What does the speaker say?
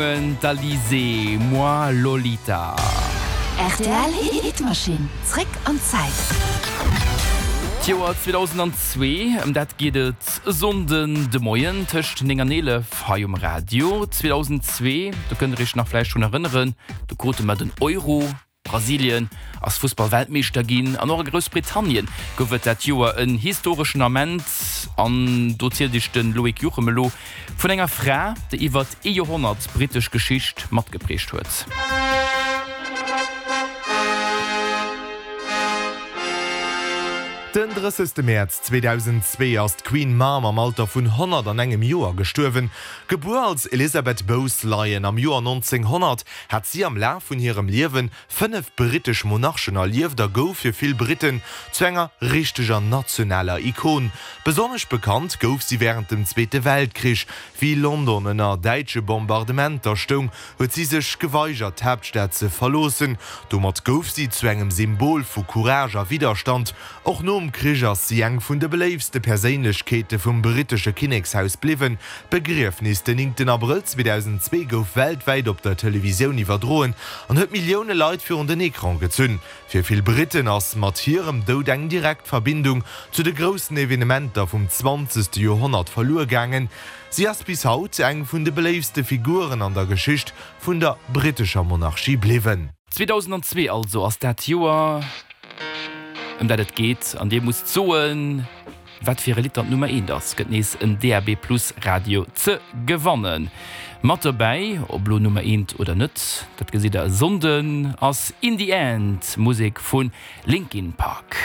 D'Alizée, Moi Lolita. Rtl Hitmachine, zréck an d'Zäit. D'Joer 2002, ëm dat geet et e Sonnden de Moien tëscht 9 an 11 hei um Radio. 2002, do kënnt der iech nach vläicht drun erënneren, do krute mer den Euro. Brasilien ass Fussball-Weltmeeschter ginn an och a Groussbritannien gouf et dat Joer en historeschen Ament. An do zielt iech de Loïc Juchem elo vun enger Fra, déi iwwert ee Joerhonnert d'brittesch Geschicht matgeprägt huet. Den 30 Mäerz 2002 ass d'Queen Mum am Alter vun 101 Joer gestuerwen. Gebuer als Elizabeth Bowes-Lyon am Joer 1900, hat si am Laf vun hirem Liewe 5 brittesch Monarchen erlieft a gouf fir vill Britten zu enger richteger nationaler Ikon. Besonnesch bekannt gouf si wärend dem Zweete Weltkrich. Wéi London ënner däitsche Bombardementer stoung, huet si sech geweigert d'Haaptstad ze verloossen. Domat gouf si zu engem Symbol vu Courage a Widderstand. Och nom Krich ass si eng vun de beléiftste Perséinlechkeete vum brittesche Kinnekshaus bliwwen. D'Begriefnis den 9 Abrëll 2002 gouf weltwäit op der Televisioun iwwerdroen an huet Millioune Leit virun den Ecran gezunn. Fir vill Britten ass mat hirem Doud eng direkt Verbindung zu de groussen Evenementer vum 20. Joerhonnert verluer gaangen. Si ass bis haut eng vun de beléiftste Figuren an der Geschicht vun der brittescher Monarchie bliwwen. 2002 also ass dat Joer, ëm dat et geet, an dir musst soen, wat fir e Lidd dann d'Nummer eent ass. Gëtt nees en DAB Plus Radio ze gewannen. Mat dobäi, ob lo Nummer eent oder net, dat gesitt der e Sonnden, ass In The End, Musek vu Linkin Park.